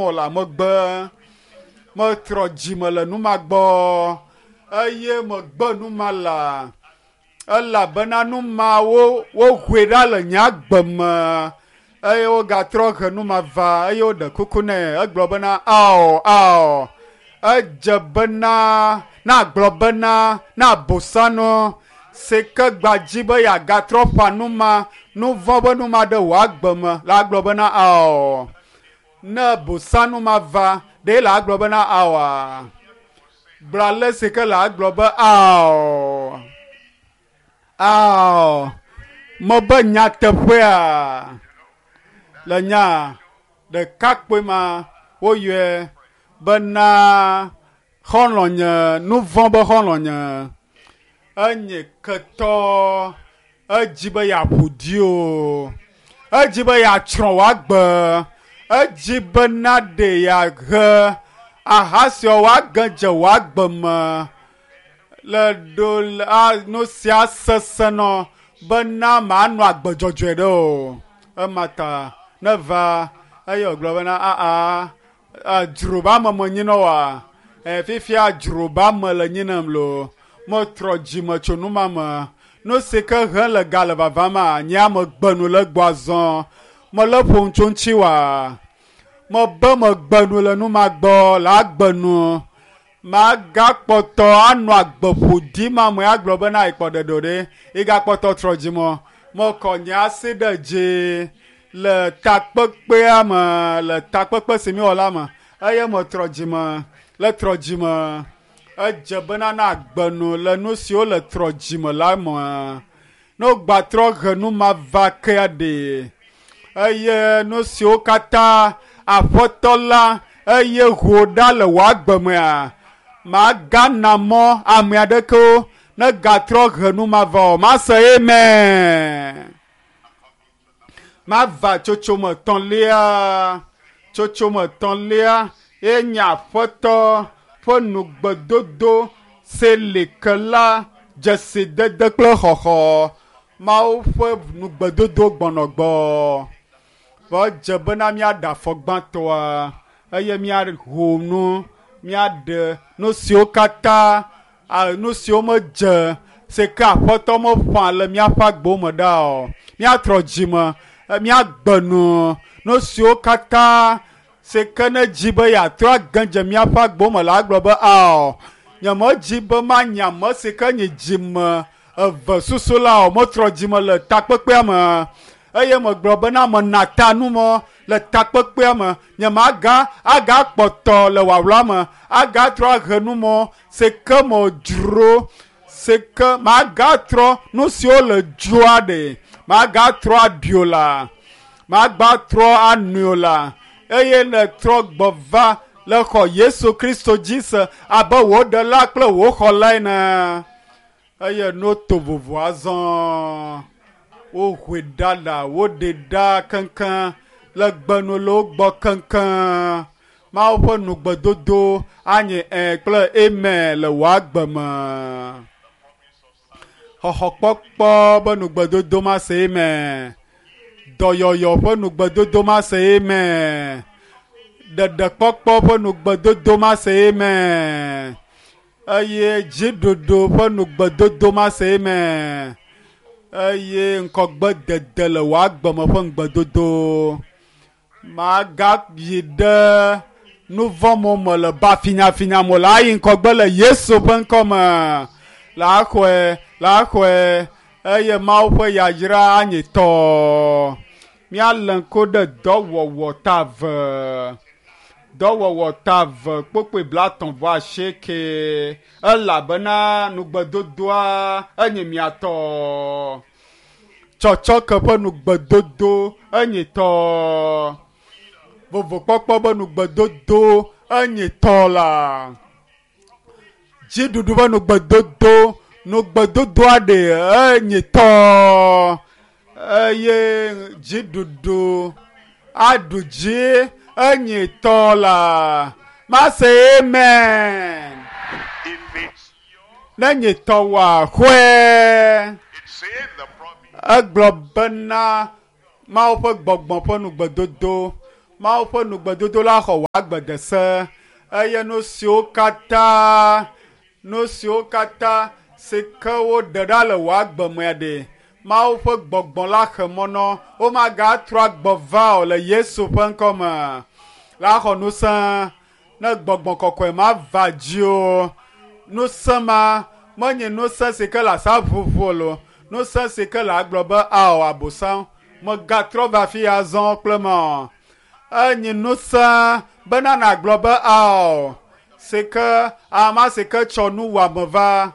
o la megbe. Metrɔ dzime le nu ma gbɔ eye megbe nu ma la elabena nu mawo wohoe ɖa le nye agbe me eye wogatrɔ he nu ma va eye woɖe kuku nɛ egblɔ bena ao ao edze bena na gblɔ bena na bosanu si ke gbadzi be yeagatrɔ ƒã nu ma nu vɔ̃ be nu ma ɖe wò agbe me la gblɔ bena ao ne bosanu ma va ɖe la gblɔ bena aoa gblɔ ale si ke la gblɔ be ao ao mebe nyateƒea le nya ɖekakpui ma woyɔe bena xɔlɔ̃nye nu vɔ̃ be xɔlɔ̃nye enye ketɔ edzi be yeaƒo ɖi o edzi be yeatsrɔ̃ wò agbe edzi bena ɖe yeahe aha siawo woage dze wò agbe me le ɖo la nu sia sesẽ nɔ bena manɔ agbe dzɔdzɔe ɖe o ema ta ne va eye wògblɔ bena aa dzroba me menyinɔ oa e fifia dzroba me le nyinem loo metrɔ dzime tso nu ma me nu si ke he le ga le vavama nye ame gbe nu le gbɔ azɔ mele ƒom tso ŋuti oa mebe megbe nu le nu ma gbɔ le agbe nu magakpɔtɔ anɔ agbe ƒoɖi ma me agblɔ bena ekpɔ ɖeɖe o ɖe igakpɔtɔ trɔ dzime mekɔ nye asi ɖe dzi le takpekpea me le takpekpe si míewɔ la me eye metrɔ dzime le trɔ dzime edze bena na agbe nu le nu siwo le trɔ dzime la me ne wogbatrɔ he nu ma va kea ɖe eye nu siwo katã aƒetɔ la eye ho ɖa le wò agbe mea magana mɔ ame aɖekewo negatrɔ he nu ma va o mase amen mava tsotsome etɔ̃lia tsotsome etɔ̃lia ye nye aƒetɔ ƒe nugbedodo si li ke la dzesidede kple xɔxɔ Mawu ƒe nugbedodo gbɔnɔ gbɔ vɔ edze bena míaɖe afɔ gbãtɔa eye míaho nu míaɖe nu siwo katã nu siwo medze si ke aƒetɔ meƒã le míaƒe agbewo me ɖa o míatrɔ dzime míagbe nu nu siwo katã si ke ne dzi be yeatrɔ age dze míaƒe agbewo me la agblɔ be ao nyemedzi be manye ame si ke nye dzime eve susu la o metrɔ dzime le takpekpea me eye megblɔ bena mena ta nu mɔ le takpekpea me nyemaga agakpɔtɔ le wawla me agatrɔ ahe nu mɔ si ke medzro si ke magatrɔ nu siwo le dzoa ɖe magatrɔ aɖi o la magbatrɔ anui o la eye nètrɔ gbɔ va le xɔ Yesu Kristo dzi se abe wò ɖela kple wò xɔla ene eye no to vovo azɔ wohoe ɖa la woɖe ɖa keŋkeŋ le gbenu le wo gbɔ keŋkeŋ Mawu ƒe nugbedodo anye ẽ kple amen le wò agbe me xɔxɔkpɔkpɔ be nugbedodo ma se amen dɔyɔyɔ ƒe nugbedodo ma se amen ɖeɖekpɔkpɔ ƒe nugbedodo ma se amen eye dziɖuɖu ƒe nugbedodo ma se amen eye ŋkɔgbedede le wò agbe me ƒe ŋugbedodo magayi ɖe nu vɔ̃ mo me le ba finyafinya mo la ayi ŋkɔgbe le Yesu ƒe ŋkɔ me la xɔe la xɔe eye Mawu ƒe yayra anye tɔ míalé ŋku ɖe dɔwɔwɔ ta ve dɔwɔwɔ ta ve kpokpoe blaetɔ̃ vɔ asieke elabena nugbedodoa enye mia tɔ tsɔtsɔke ƒe nugbedodo enye tɔ vovokpɔkpɔ ƒe nugbedodo enye tɔ la dziɖuɖu ƒe nugbedodo nugbedodoa ɖe enye tɔ eye dziɖuɖu aɖu dzi enye tɔ la mase amen If it's ne nye tɔ wòa xɔe it said the promise egblɔ bena Mawu ƒe gbɔgbɔ ƒe nugbedodo Mawu ƒe nugbedodo la xɔ wò agbe de se eye nu siwo katã nu siwo katã si ke woɖe ɖa le wò agbe mea ɖe Mawu ƒe gbɔgbɔ la xe mɔ nɔ womagatrɔ agbɔ va o le Yesu ƒe ŋkɔ me la xɔ ŋusẽ ne gbɔgbɔ kɔkɔe ma va dzi o ŋusẽ ma menye ŋusẽ si ke le asa ʋuʋu o lo ŋusẽ si ke le agblɔ be ao abosam megatrɔ va afi ya zɔ kple me o enye ŋusẽ bena nàgblɔ be ao si ke ama si ke tsɔ nuwɔame va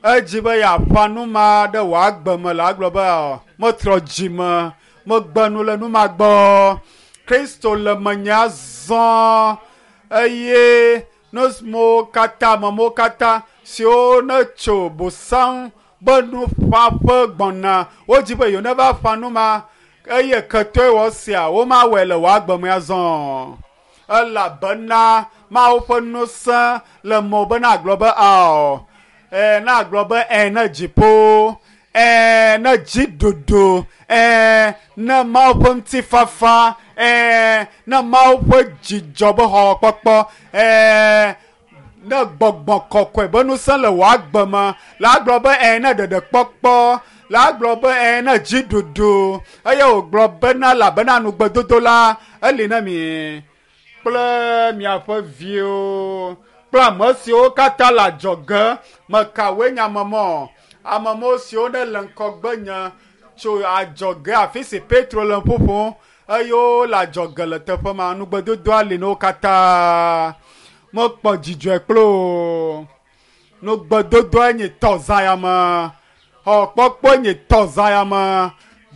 edzi be yeaƒã nu ma ɖe wò agbe me le agblɔ be ao metrɔ dzi me megbe nu le nu ma gbɔ Kristo le menye azɔ eye nu siwo katã amewo katã siwo ne tso bosam be nuƒãƒe gbɔna wodzi be yewo neva ƒã nu ma eye ketɔe wɔ sia womawɔe le wò agbe me azɔ elabena Mawu ƒe ŋusẽ le mɔ be nagblɔ be ao ɛ nagblɔ be ɛ ne dziƒo ɛ ne dziɖuɖu ɛ ne Mawu ƒe ŋutifafa ɛ ne Mawu ƒe dzidzɔ be xɔxɔkpɔkpɔ ɛ ne gbɔgbɔ kɔkɔe be ŋusẽ le wò agbe me la gblɔ be ɛ ne ɖeɖekpɔkpɔ la gblɔ be ɛ ne dziɖuɖu eye wògblɔ bena elabena nugbedodo la eli na mi kple miaƒe viwo kple ame siwo katã le adzɔge mekawoe nye amemɔ amemɔ siwo ne le ŋkɔgbe nye tso adzɔge afi si Petro le ƒoƒom eye wole adzɔge le teƒe ma nugbedodoa li na wo katã mekpɔ dzidzɔe kple o nugbedodoa nye tɔzãyame xɔkpɔkpɔ nye tɔzãyame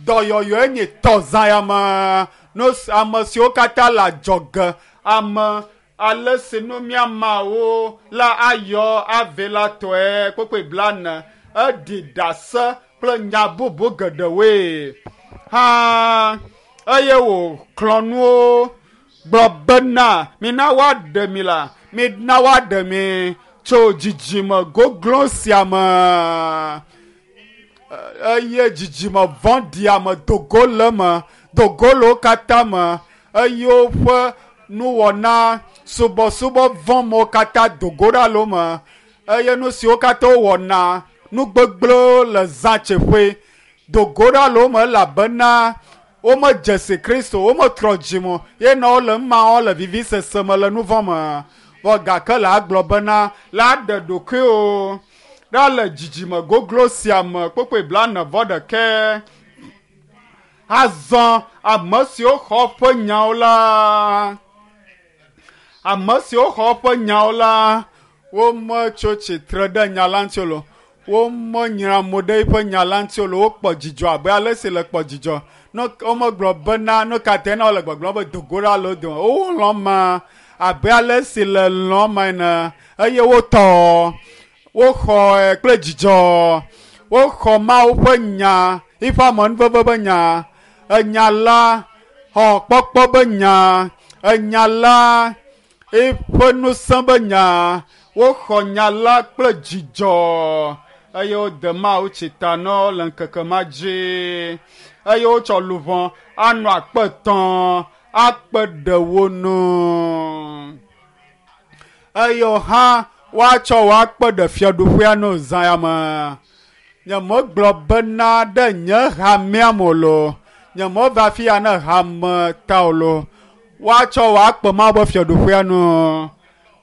dɔyɔyɔe nye tɔzãyame nu ame siwo katã le adzɔge ame ale si nu míamawo la ayɔ ave la tɔe kpekpe blane eɖi ɖase kple nya bubu geɖewoe hã eye wòxlɔ̃ nuwo gblɔ bena mina woaɖe mi la mina woaɖe mi tso dzidzime goglo sia me eye dzidzime vɔ̃ɖia me dogo le me dogo le wo katã me eye woƒe nuwɔna subɔsubɔ vɔ̃ katã dogo ɖa le wo me eye nu siwo katã wowɔna nu gbegblẽwo le zãtseƒe dogo ɖa le wo me elabena womedze si Kristo wometrɔ dzime o ye nɔ wole nu ma wɔm le vivisese me le nu vɔ̃ me vɔ gake le agblɔ bena la ɖe ɖokuiwo ɖa le dzidzime goglo sia me kpokpoe blane vɔ ɖekɛ azɔ ame siwo xɔ ƒe nyawo la ame siwo xɔ ƒe nyawo la wometso tsitre ɖe nya la ŋuti o womenyra mo ɖe eƒe nya la ŋuti o wokpɔ dzidzɔ abe ale si le kpɔ dzidzɔ ne womegblɔ bena nu ka tae na wole gbɔgblɔm be dogo ɖa le wo dome wolɔ̃ ma abe ale si le lɔ̃ ma ene eye wotɔ woxɔe kple dzidzɔ woxɔ Mawu ƒe nya eƒe amenuveve ƒe nya enya la xɔ kpɔkpɔ ƒe nya enya la eƒe ŋusẽ ƒe nya woxɔ nya la kple dzidzɔ eye wode Mawu tsita na wo le ŋkeke ma dzi eye wotsɔ luʋɔ anɔ akpe tɔ̃ akpe ɖe wo nu eye hã woatsɔ wo akpe ɖe fiaɖuƒea nu zã ya me nyemegblɔ bena ɖe nye hamea me o lo nyemeva afi ya ne hame ta o lo woatsɔ wo akpe Mawu ƒe fiaɖuƒea nu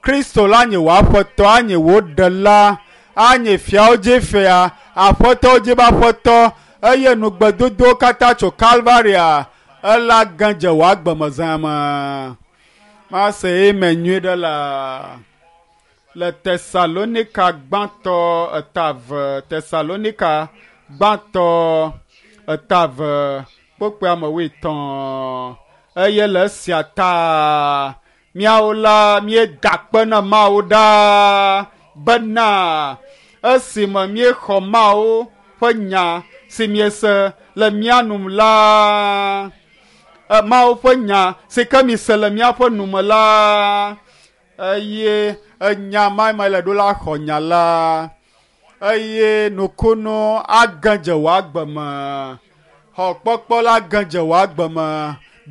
Kristo la nye wò aƒetɔ anye wò ɖela anye fiawo dzi fia aƒetɔwo dzi be aƒetɔ eye nugbedodowo katã tso Kalvaria ela gã dze wò agbe me zã me mase eme nyuie ɖe la le Tesalonika gbãtɔ etave Tesalonika gbãtɔ etave kpokpoe ame wuietɔ̃ eye le esia ta míawo la míeda akpe na Mawu ɖaa bena esime míexɔ Mawu ƒe nya si miese le mía nu la Mawu ƒe nya si ke mise le míaƒe nu me la eye enya ma me le ɖo la xɔ nya la eye nukunu age dze wò agbe me xɔ kpɔkpɔ la ge dze wò agbe me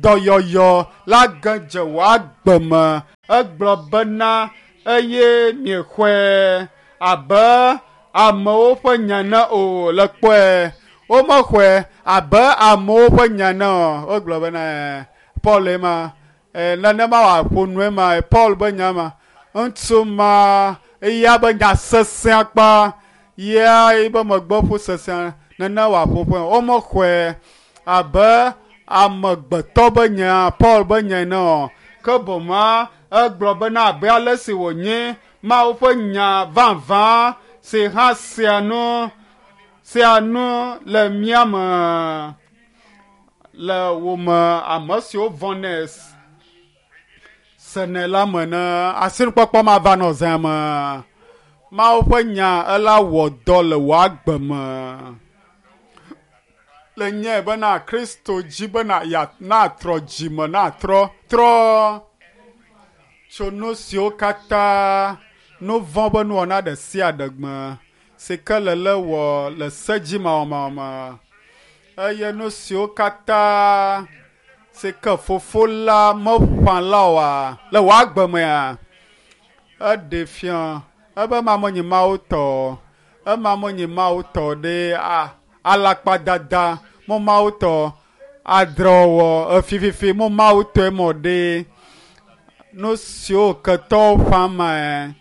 Dɔyɔyɔ la ge dze wò agbe me. Egblɔ bena eye miexɔe abe amewo ƒe nya ne o le kpɔe. Womexɔe abe amewo ƒe nya ne o. Wogblɔ bena Paul ema nenema wòaƒo nue ma Paul be nya ma. Ŋutsu ma eya be nya sesẽ akpa ya ebe megbe ƒu sesẽ nene wòaƒo ƒe. Womexɔe abe amegbetɔ be nya Paul be nya ene o. Ke boŋ egblɔ bena abe ale si wònye Mawu ƒe nya vavã si hã sea nu le mía me le wò me ame siwo vɔ̃nɛ senɛ la me ne asinukpɔkpɔ ma va nɔ zã me. Mawu ƒe nya ela wɔ dɔ le wò agbe me. Le nyae bena Kristo dzi bena natrɔ dzime natrɔ trɔ tso nu siwo katã nu vɔ̃ be nuwɔna ɖe sia ɖe me si ke le le wɔ le se dzi mawɔmawɔ me eye nu siwo katã si ke fofo la meƒã la oa le wò agbe mea eɖe fia ebe ma menye Mawu tɔ ema menye Mawu tɔ ɖe alakpadada mo Mawu tɔ adrewɔwɔ efififi mo Mawu tɔe mɔ ɖe nu siwo ketɔwo ƒã mae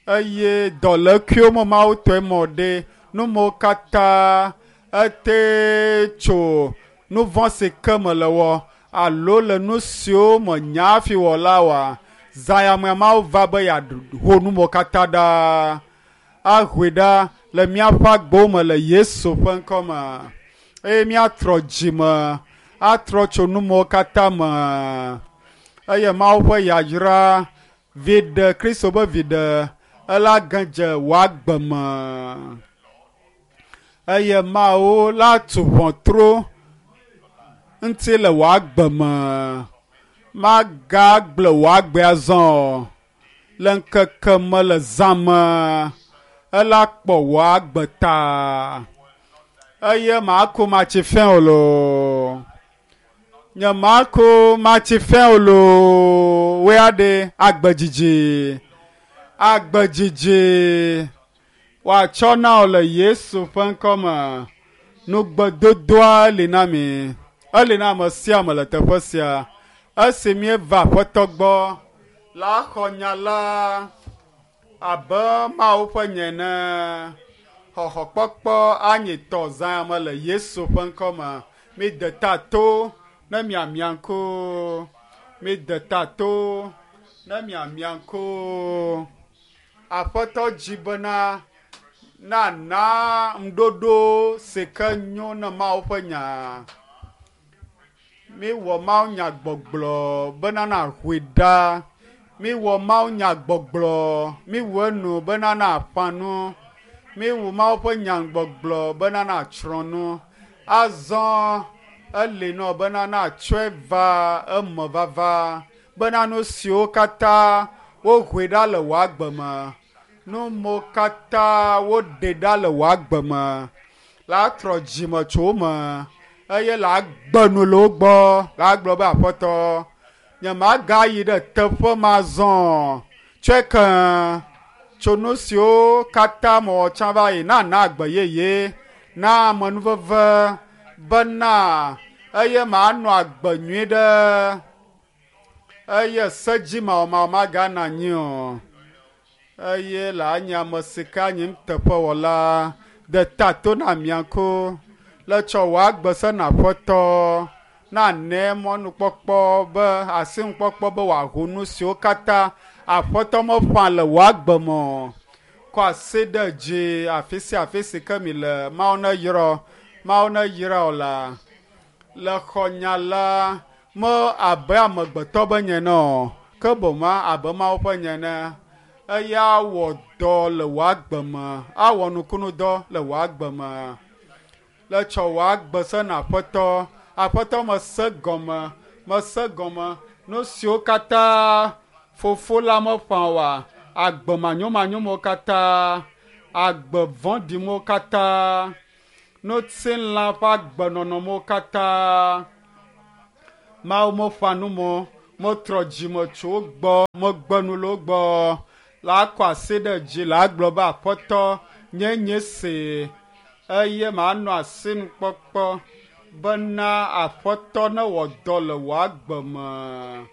eye dɔlékuiwo mo Mawu tɔe mɔ ɖe nu mawo katã ete tso nu vɔ̃ si ke me le wɔ alo le nu siwo me nya hafi wɔ la oa zãyamea Mawu va be yeaho nu mawo katã ɖa ahoe ɖa le míaƒe agbewo me le Yesu ƒe ŋkɔ me eye míatrɔ dzime atrɔ tso nu mawo katã me eye Mawu ƒe yayra viɖe Kristo be viɖe ela ge dze wò agbe me eye Mawu la tu ʋɔtru ŋuti le wò agbe me. Magagblẽ wò agbe azɔ o. Le ŋkeke me le zã me ela kpɔ wò agbe ta eye màku matsi fẽ o loo. Nye màku matsi fẽ o loo. Woe aɖe agbe dzidzi agbe dzidzi woatsɔ na wò le Yesu ƒe ŋkɔ me. Nugbedodoa li na mi. Eli na ame sia ame le teƒe sia. Esi míeva Aƒetɔ gbɔ la xɔ nya la abe Mawu ƒe nya ene. Xɔxɔkpɔkpɔ anyi tɔ zã me le Yesu ƒe ŋkɔ me. Mide ta to ne miamia ŋku. Mide ta to ne miamia ŋku. Aƒetɔ dzi bena nana ŋuɖoɖo si ke nyo na Mawu ƒe nya. Miwɔ Mawu nya gbɔgblɔ bena nàhoe ɖa. Miwɔ Mawu nya gbɔgblɔ miwɔ enu bena nàƒã nu. Miwɔ Mawu ƒe nya gbɔgblɔ bena nàtsrɔ̃ nu. Azɔ eli nɔ bena nàtsɔe va eme vava bena nu siwo katã wohoe ɖa le wò agbe me nu mawo katã woɖe ɖa le wò agbe me la trɔ dzime tso wo me eye la gbe nu le wo gbɔ la gblɔ be Aƒetɔ nye magayi ɖe teƒe ma zɔ tsɔe ke tso nu siwo katã mewɔ tsã va yi nana agbe yeye na amenuveve bena eye manɔ agbe nyui ɖe eye sedzi mawɔmawɔ magana anyi o eye le anyi ame si ke anyi nuteƒewɔla de ta to na mia ŋku le tsɔ wò agbe se na Aƒetɔ nane mɔnukpɔkpɔ be asinukpɔkpɔ be wòaho nu siwo katã Aƒetɔ meƒã le wò agbe me o. Kɔ asi ɖe dzi afi sia afi si ke mi le. Mawu neyra Mawu neyra wò la le xɔ nya la me abe amegbetɔ be nye ene o ke boŋ abe Mawu ƒe nya ene. Eya awɔ dɔ le wò agbe me awɔ nukunudɔ le wò agbe me. Le tsɔ wò agbe se na Aƒetɔ. Aƒetɔ mese gɔme mese gɔme nu siwo katã fofo la meƒã oa agbe manyomanyomewo katã agbe vɔ̃ɖimewo katã ŋutilã ƒe agbenɔnɔmewo katã Mawu meƒã nu mɔ, metrɔ dzime tso wo gbɔ, megbe nu le wo gbɔ. La kɔ asi ɖe dzi la gblɔ be Aƒetɔ nye nye se eye manɔ asinukpɔkpɔ bena Aƒetɔ newɔ dɔ le wò agbe me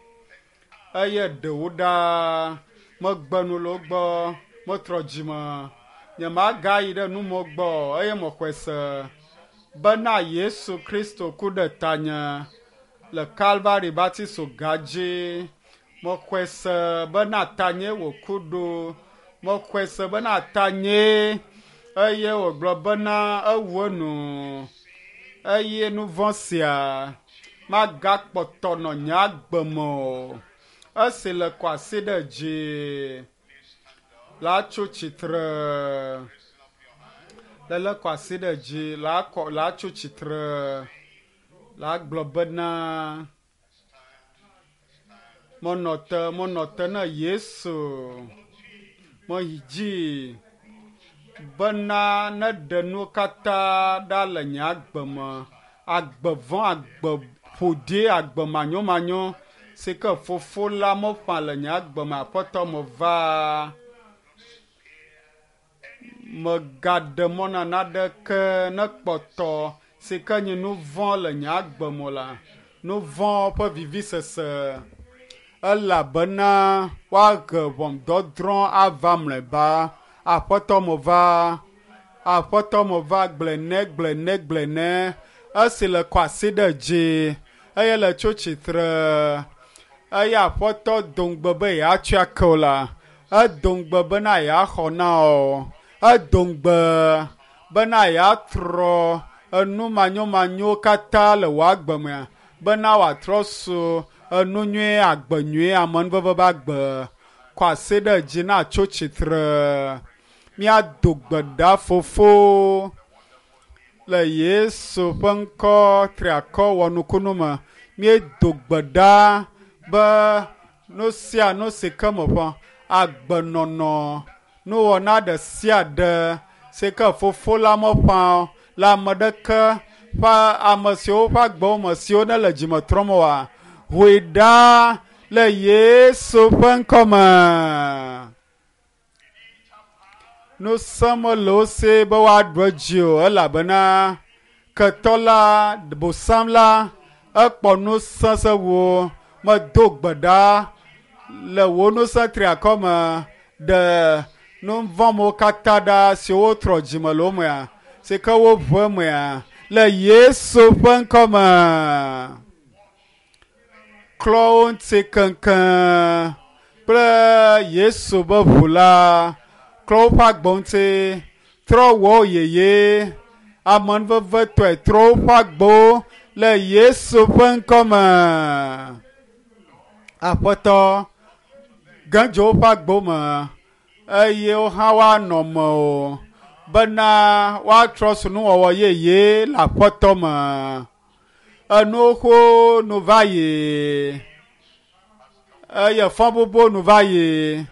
eye ɖewo ɖa megbe nu le wo gbɔ, metrɔ dzime. Nyemagayi ɖe numɔ gbɔ eye mexɔe se bena Yesu Kristo ku ɖe tanye le Kalvari Batiso ga dzi. Mexɔe se bena tanye wòku ɖo. Mexɔe se bena tanye eye wògblɔ bena ewu enu eye nu vɔ̃ sia magakpɔtɔ nɔ nye agbe me o. Esi le kɔ asi ɖe dzi la tso tsitre. Lele kɔ asi ɖe dzi la kɔ la tso tsitre la gblɔ bena menɔ te menɔ te na Yesu meyi dzi bena neɖe nuwo katã ɖa le nye agbe me. Agbe vɔ̃, agbe ƒoɖi, agbe manyomanyo si ke fofo la meƒã le nye agbe me Aƒetɔ meva. Megaɖe mɔ na naneke nekpɔtɔ si ke nye nu vɔ̃ le nye agbe me la, nu vɔ̃ ƒe vivisese elabena woahe ʋɔnudɔdrɔ̃ ava mlɔeba. Aƒetɔ meva, Aƒetɔ meva gblɔe nɛ, gblɔe nɛ, gblɔe nɛ. Esi le kɔ asi ɖe dzi eye le tso tsitre eye Aƒetɔ do ŋugbe be yeatsɔe ake wò la, edo ŋugbe bena yeaxɔ na wò. Edo ŋugbe bena yeatrɔ enu manyomanyowo katã le wò agbe mea, bena wòatrɔ su enu nyui, agbe nyui, amenuveve ƒe agbe. Kɔ asi ɖe dzi na tso tsitre. Míado gbe ɖa fofo le Yesu ƒe ŋkɔ triakɔ wɔnukunu me. Míedo gbe ɖa be nu sia nu si ke meƒã agbenɔnɔ nuwɔna ɖe sia ɖe si ke fofo la meƒã le ame ɖeke ƒe ame siwo ƒe agbewo me siwo ne le dzime trɔm oa, hoe ɖa le Yesu ƒe ŋkɔ me. Ŋusẽ mele wo si be woaɖu edzi o elabena ketɔ la, bosam la, ekpɔ ŋusẽ sẽŋu. Medo gbe ɖa le wò ŋusẽ triakɔ me ɖe nu vɔ̃wo katã ɖa siwo trɔ dzime le wo mea, si ke woʋu emea le Yesu ƒe ŋkɔ me. Klɔ wo ŋuti keŋkeŋ kple Yesu ƒe ʋu la. Klɔ woƒe agbe ŋuti, trɔ wɔ wo yeye, amenuvevetɔe trɔ woƒe agbewo le Yesu ƒe ŋkɔ me. Aƒetɔ, ge dzo woƒe agbewo me eye wo hã woanɔ me o bena woatrɔ su nuwɔwɔ yeye le Aƒetɔ me. Enuwo xoxo nu va yi eye fɔbubu nu va yi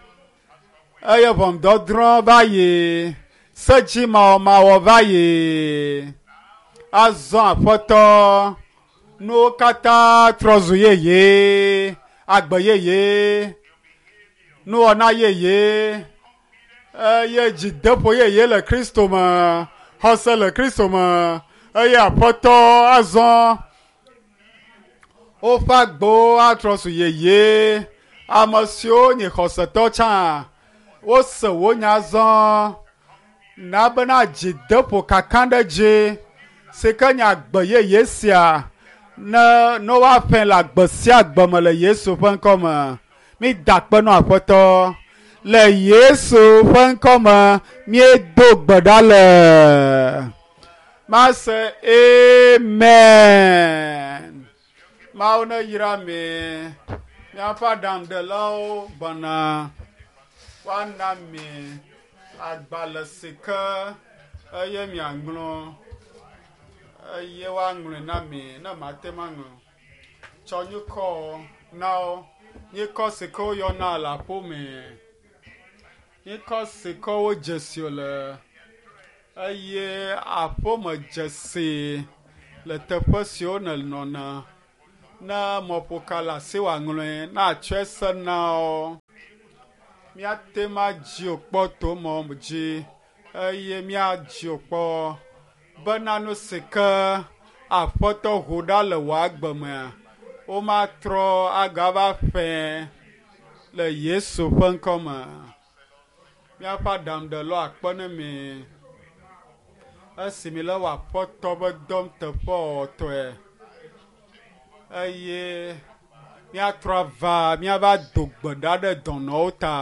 eye ʋɔnudɔdrɔ̃ va yi sedzimawɔmawɔ va yi. Azɔ Aƒetɔ, nuwo katã trɔ zu yeye, agbe yeye, nuwɔna yeye eye dzideƒo yeye le Kristo me, xɔse le Kristo me eye Aƒetɔ azɔ woƒe agbewo atrɔ zu yeye. Ame siwo nye xɔsetɔ tsã, wose wò nya azɔ na bena dzideƒo kakaɖedzi si ke nye agbe yeye sia ne ne woaƒãe le agbe sia agbe me le Yesu ƒe ŋkɔ me. Mída akpe na Aƒetɔ le Yesu ƒe ŋkɔ me míedo gbe ɖa le. Mase amen. Mawu neyra mi. Míaƒe aɖaŋuɖelawo gbɔna woana mi agbalẽ si ke eye miaŋlɔ eye woaŋlɔe na mi ne mate ŋu aŋlɔ. Tsɔ nyikɔ na wo. Nyikɔ si ke woyɔna le aƒeme. Nyikɔ si ke wodze si le eye aƒeme dzesi le teƒe siwo nènɔna. Ne mɔƒoka le asi wòaŋlɔe na atsɔe se na wo. Míate ŋu adzi wò kpɔ to mɔ dzi eye míadzi wò kpɔ bena nu si ke Aƒetɔ ʋu ɖa le wò agbe mea, womatrɔ agava ƒẽ le Yesu ƒe ŋkɔ me. Míaƒe aɖaŋuɖelawo akpe ne mi esi mi le wɔ Aƒetɔ ƒe dɔm teƒewɔwɔtɔe eye míatrɔ ava míava do gbe ɖa ɖe dɔnɔwo ta.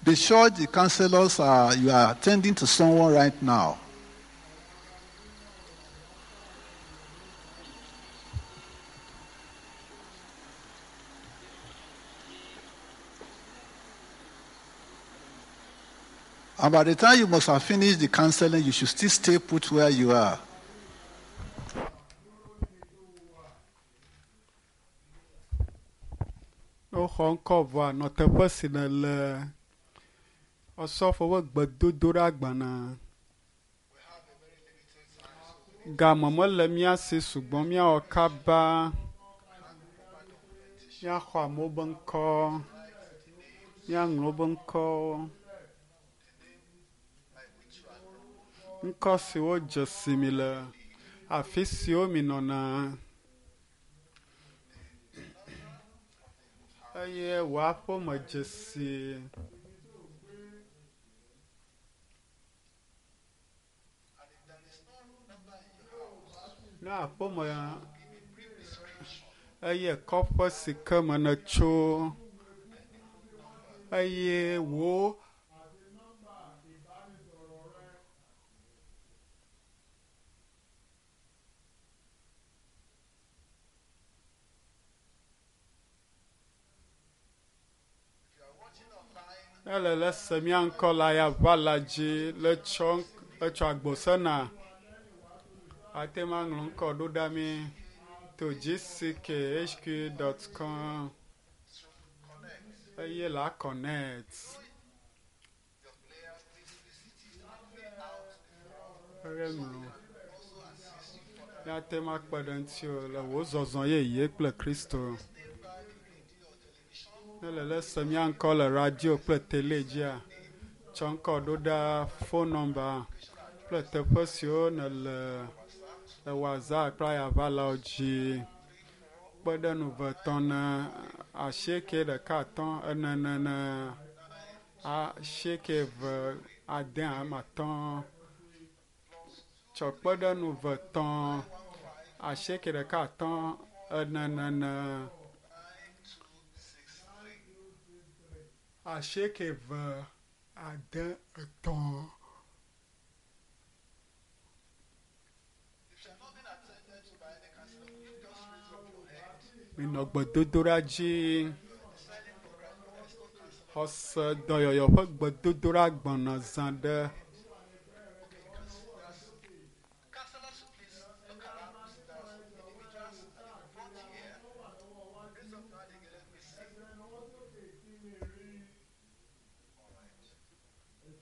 Be sure the counselors are you are attending to someone right now. And by the time you must have finished the counseling, you should still stay put where you are. Ne woxɔ ŋkɔ vɔa, nɔ teƒe si nèle. Osɔfo ƒe gbedodoɖa gbana. Game mele mía si sugbɔ míawɔ kaba. Míaxɔ amewo be ŋkɔ. Míaŋlɔ wobe ŋkɔwo. Ŋkɔ siwo dze si mi le afi siwo mi nɔna. Eye wò aƒeme dzesi. Ne aƒeme eye kɔƒe si ke me nètso eye wò Ele le se mía ŋkɔ la ya ʋa la dzi le tsɔ etsɔ agbosena. Ate ŋu aŋlɔ ŋkɔ ɖo ɖa mi to gckhq.com eye la connect. Eye ŋlɔ. Míate ŋu akpe ɖe ŋutiwò le wò zɔzɔ yeye kple Kristo. Ne le le se mía ŋkɔ le radio kple tele dzia, tsɔ ŋkɔ ɖo ɖa phone number kple teƒe siwo nèle le WhatsApp kple ayaʋalawo dzi. Kpe ɖe nu ve tɔ̃ ne asieke ɖeka atɔ̃ ene ene ene asieke eve ade ame atɔ̃. Tsɔ kpe ɖe nu ve tɔ̃ asieke ɖeka atɔ̃ ene ene ene asieke eve ade etɔ̃. Minɔ gbedodoɖa dzi. Xɔse dɔyɔyɔ ƒe gbedodoɖa gbɔna zã ɖe.